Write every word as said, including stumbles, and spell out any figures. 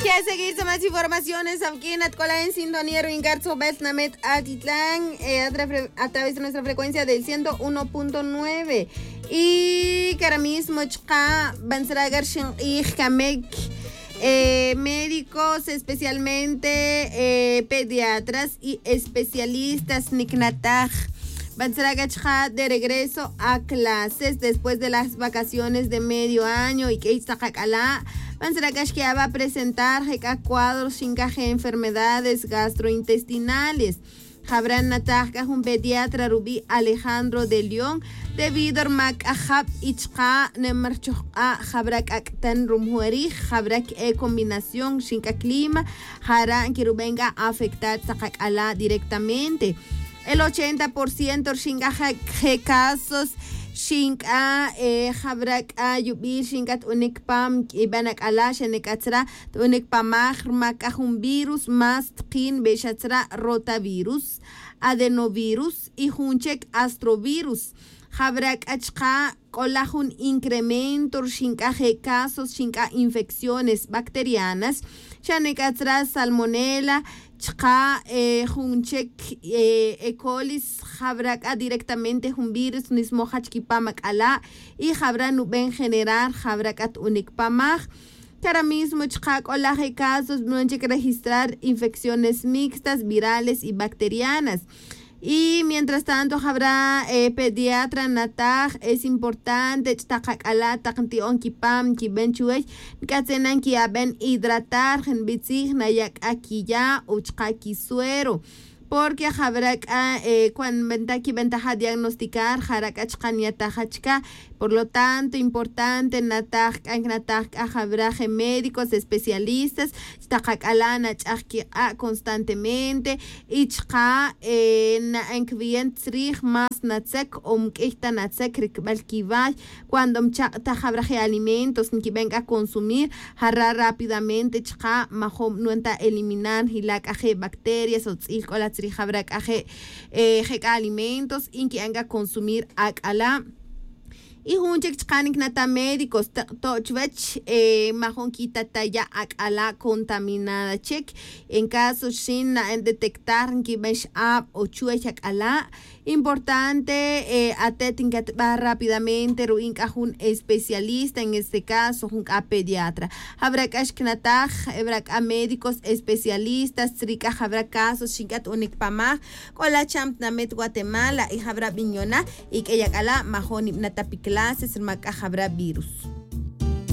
Seguir sa más informaciones awq'uin at k'ola' en sintonía ru'in k'a ri tzojb'al tinamet atitlán, eh, a tra- a través de nuestra frecuencia del ciento uno punto nueve. Y cara mismo chqa' bantzra' k'a ri xinq'ij kamik, eh, médicos, especialmente, eh, pediatras y especialistas niknataj. Bantzra' k'a chqa' de regreso a clases después de las vacaciones de medio año y k'ey taq ak'ala'. Bantzra' k'a xkiya' va presentar je' k'a cuadros xinkaj enfermedades gastrointestinales. Jab'ra' nataj k'a jun pediatra rub'i' Alejandro de León, debido rma k'a jab' y chqa' nem rchojq'a', jab'ra' k'a k'tan rumujun rij, jab'ra' k'e combinación rxin k'a clima, jara' nkirub'en k'a afectar taq ak'ala' directamente. El ochenta por ciento rxin k'a je' casos rxin k'a, eh, jab'ra' k'a yub'i rxin k'a t'unik pam kib'an ak'ala', xane k'a tzra' t'unik pamaj rma k'a jun virus más tqin b'exa tzra' rotavirus, adenovirus y jun chek astrovirus. Jab'ra' k'a chqa' k'ola' jun incremento rxin k'a je' casos rxin k'a infecciones bacterianas, xane k'a tzra' salmonela chqa', eh, jun chek, eh, E. colis, jab'ra' k'a directamente jun virus nismoj jach kipam ak'ala' y jab'ra' nub'en generar jab'ra' k'a t'unik pamaj. Cara mismo chqa' k'ola' je' casos nub'en chik registrar infecciones mixtas, virales y bacterianas. Y mientras tanto jab'ra', eh, pediatra nataj es importante ch'taq ak'ala' taq nti'on kipam kib'en chuwech, nk'atzin na nkiyab'en hidratar, je' nb'i' tzij naya' k'a kiya' o chqa' kisuero. Porque jab'ra' k'a, eh, cuando nb'antaj kib'antaja' diagnosticar jara' k'a chqa' nyataja' chka. Por lo tanto importante nataj k'a nknataj k'a jab'ra' je' médicos especialistas ch'taq ak'ala' nach'aj kiq'a' constantemente y chqa', eh, na'an kiwiyen tzrij más natzek o nk'uy ta natzek rikb'al kiway. Cuando mchaq' ta jab'ra' je' alimentos nkib'en k'a consumir, jara' rápidamente chqa' majom nwan ta eliminar jila' k'a je' bacterias o tz'il k'ola' tzrij jab'ra' k'a je', eh, je' k'a alimentos y nki'an k'a consumir ak'ala'. Y jun chik chqa' niknataj médicos teq to' chuwech, eh, majom kitataya' ak'ala' contaminada chik. En caso xin na'an detectar nkib'an x'ab' o chuwech ak'ala', importante, eh, atet nkatb'aj rápidamente ru'in k'a jun especialista, en este caso jun k'a pediatra. Jab'ra' k'a xknataj, jab'ra' k'a médicos especialistas tzri' k'a jab'ra' casos xin k'a t'unik pamaj k'ola' cham tinamet Guatemala y jab'ra' b'in yona y k'ey ak'ala' majom nib'ana' ta pi clases rma k'a jab'ra' virus.